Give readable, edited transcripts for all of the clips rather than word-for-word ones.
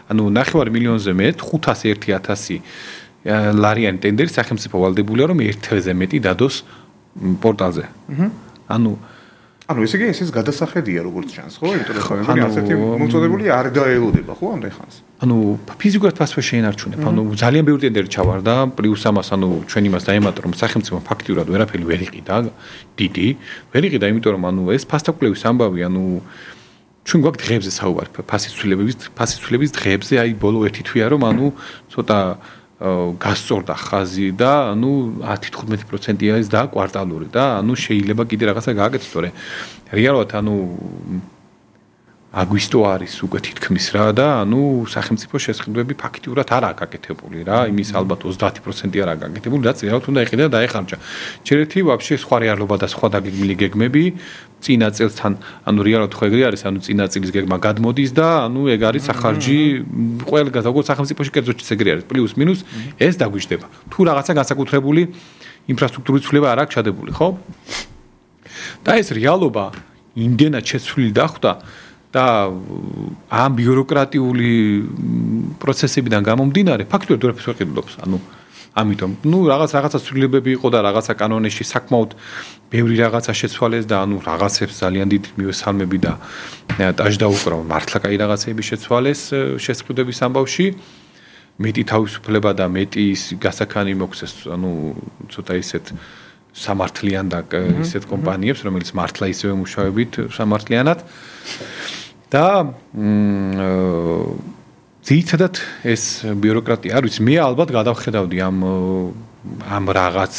ანუ 9 მილიონზე მეტ 501,000 ლარიანი ტენდერი სახელმწიფო ვალდებულია რომ 1-ზე მეტი დადოს პორტალზე. ანუ ესე იგი ეს გადასახედია როგორც ჩანს, ხო? იმიტომ რომ მე ასეთი მომწოდებული არ დაელოდება, ხო, ამდენ ხანს. ანუ ფიზიკურად ფასვე შეინარჩუნებ. ანუ ძალიან ბევრი ტენდერი ჩავარდა, პლუს ამას ანუ ჩვენ იმას დაემატა რომ სახელმწიფო ფაქტიურად ვერაფერი ვერ იყიდა დიდი, ვერ იყიდა, იმიტომ რომ ანუ ეს ფასტაკვლევის ამბავი, ანუ ჩვენ გვაქვს დღეებზე საუბარი, ფასის ცვლილების დღეებზე, აი ბოლო 1 თვეა რომ ანუ ცოტა გასწორდა ხაზი და ანუ 10-15%-ია ის და კვარტალური და ანუ შეიძლება კიდე რაღაცა გააკეთოს, თორე რეალურად ანუ აგვისტო არის უკვე თითქმის რა და ანუ სახელმწიფო შესყიდვები ფაქტიურად არაა გაკეთებული რა, იმის ალბათ 30% არაა გაკეთებული, რაც რეალურად უნდა იყიდა და დაეხარჯა. ჯერეთი ვაფშე სხვა რეალობა და სხვა დაგეგმილი გეგმები წინა წელთან, ანუ რეალურად ხო ეგრე არის, ანუ წინა წლის გეგმა გადმოდის და ანუ ეგ არის სახარჯი ყველგან, როგორც სახელმწიფოში კერძოჩიც ეგრე არის, პლუს მინუს ეს დაგვიждდება. თუ რაღაცა განსაკუთრებული ინფრასტრუქტურის ცვლილება არ აქვს ჩადებული, ხო? და ეს რეალობა იმდენად შეცვლილი დახვდა და ამ ბიუროკრატიული პროცესებიდან გამომდინარე ფაქტობრივად ვერაფერს ვერ ყიდულობს, ანუ ამიტომ რაღაცა ცვლილებები იყო და რაღაცა კანონებში საკმაოდ ბევრი რაღაცა შეცვალეს და ანუ რაღაცებს ძალიან დიდ მივესალმები და დაждდა უკრა მართლა კაი რაღაცები შეცვალეს შესყიდვების ამბავში. მეტი თავისუფლება და მეტი გასაქანი მოქცეს, ანუ ცოტა ისეთ სამართლიან და ისეთ კომპანიებს, რომელიც მართლა ისევე მუშაობთ სამართლიანად და ძირითადად ეს ბიუროკრატია არ ვიცი, მე ალბათ გადავხედავდი ამ რაღაც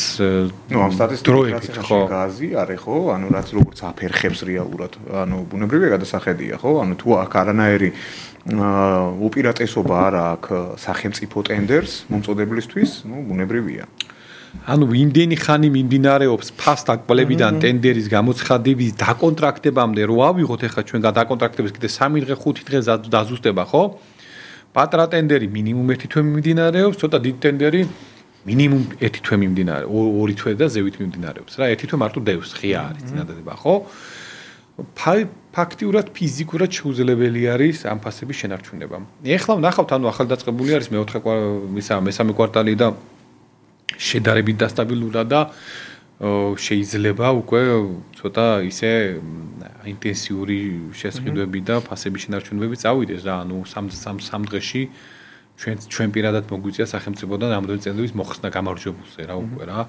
ამ სტატისტიკას ხო გაზი არის ხო, ანუ რაც როგორც აფერხებს რეალურად, ანუ ბუნებრივია გადასახედია ხო, ანუ თუ აქ არანაირი უპირატესობა არ აქვს სახელმწიფო ტენდერს მომწოდებლისთვის, ბუნებრივია. ანუ იმდენი ხანი მიმდინარეობს ფასტაკბლებიდან ტენდერის გამოცხადების დაკონტრაქტებამდე, რო ავიღოთ ახლა ჩვენ გადაკონტრაქტების კიდე 3 დღე 5 დღე დაზუსტება, ხო? პატრა ტენდერი მინიმუმ 1 თვე მიმდინარეობს, ცოტა დიდ ტენდერი მინიმუმ 1 თვე მიმდინარეობს, 2 თვე და ზევით მიმდინარეობს რა, 1 თვე მარტო დევს, ღია არის წინადადება, ხო? ფაქტიურად ფიზიკურად შეუძლებელი არის ამ ფასების შენარჩუნება. ეხლა ვნახავთ, ანუ ახალდაწყებული არის მესამე კვარტალი და შედარებით დასტაბილურა და შეიძლება უკვე ცოტა ისე ინტენსიური შესყიდვები და ფასების შენარჩუნებები წავიდეს რა, ანუ 3 დღეში ჩვენ პირადად მოგვიწია სახელმწიფოდან ამდენი წელების მოხსნა გამარჯვებულზე რა უკვე რა.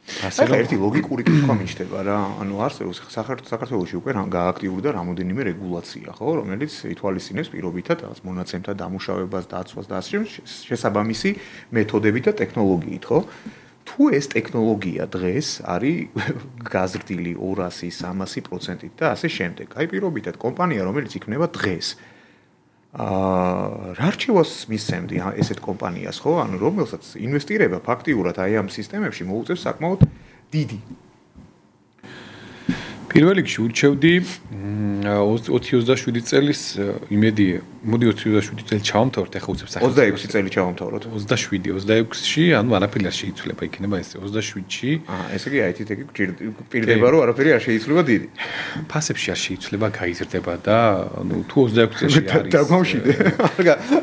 ახლა ერთი ლოგიკური კითხვა მიჩნდება რა, ანუ არსებობს საქართველოში უკვე გააქტიურდა რამოდენიმე რეგულაცია, ხო, რომელიც ითვალისწინებს პირობითად რაღაც მონაცემთა დამუშავებას, დაცვას და ასე შესაბამისი მეთოდებით და ტექნოლოგიით, ხო? თუ ეს ტექნოლოგია დღეს არის გაზრდილი 200-300%-ით და ასე შემდეგ. აი პირობითად კომპანია, რომელიც იქნება დღეს რა რჩევას მისცემდი ესეთ კომპანიას, ხო? ანუ რომელსაც ინვესტირება ფაქტიურად აი ამ სისტემებში მოუწევს საკმაოდ დიდი. პირველ რიგში ურჩევდი 2027 წელის იმედი, მოდი 2027 წელი ჩავამთავროთ, ახლა უცებ სახელმწიფო 26 წელი ჩავამთავროთ. 26-ში, ანუ არაფერი არ შეიცვლება, იქნება ეს 27-ში. ესე იგი IT-ით პირდება, რომ არაფერი არ შეიცვლება დიდი. ფასებში არ შეიცვლება, გაიზრდება და ანუ თუ 26 წელში არის დაგმავშიდე.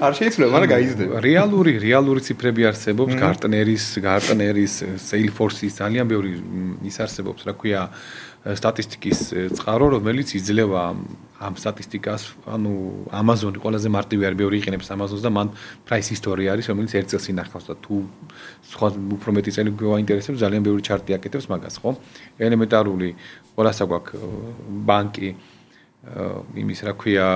არ შეიცვლება, მაგრამ გაიზრდება. რეალური ციფრები არსებობს, Gartner-ის, Salesforce-ის ძალიან ბევრი ის არსებობს, რა ქვია სტატისტიკის წყარო, რომელიც იძლევა ამ სტატისტიკას, ანუ Amazon-ი ყველაზე მარტივი არის, ბევრი იყენებს Amazon-ს და მან price history არის, რომელიც 1 წელს ინახავს და თუ სხვა უფრო მეტი წელი გვაინტერესებს, ძალიან ბევრი ჩარტი აკეთებს მაგას, ხო? ელემენტარული ყველასა გვაქვს ბანკი, იმის რა ქვია,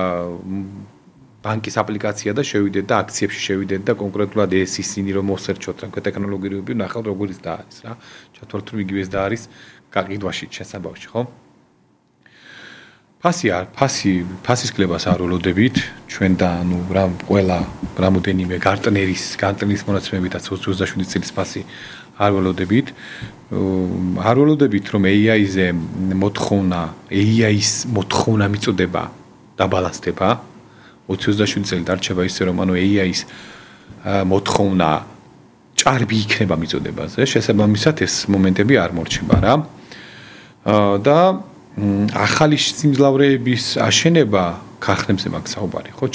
ბანკის აპლიკაცია და შევიდეთ და აქციებში შევიდეთ და კონკრეტულად ეს ისინი რომ მოსერჩოთ, რა ქვია, ტექნოლოგიები ნახავთ როგორიც და არის რა. ჩათვალოთ რომ იგივეს და არის გაყიდვაში შესაბამში, ხო? ფასის კლებას არ ველოდებით, ჩვენ და ანუ ყველა რამოდენიმე Gartner-ის მონაცემებითაც 27 წლის ფასი არ ველოდებით. არ ველოდებით რომ AI-ზე AI-ის მოთხოვნა მიწოდება დაბალანსდება. 27 წელი დარჩება ისე რომ ანუ AI-ის მოთხოვნა ჭარბი იქნება მიწოდებაზე, შესაბამისად ეს მომენტები არ მორჩება რა. და ახალი სიმძლავრეების აშენება ქარხნებზე მაქვს საუბარი, ხო?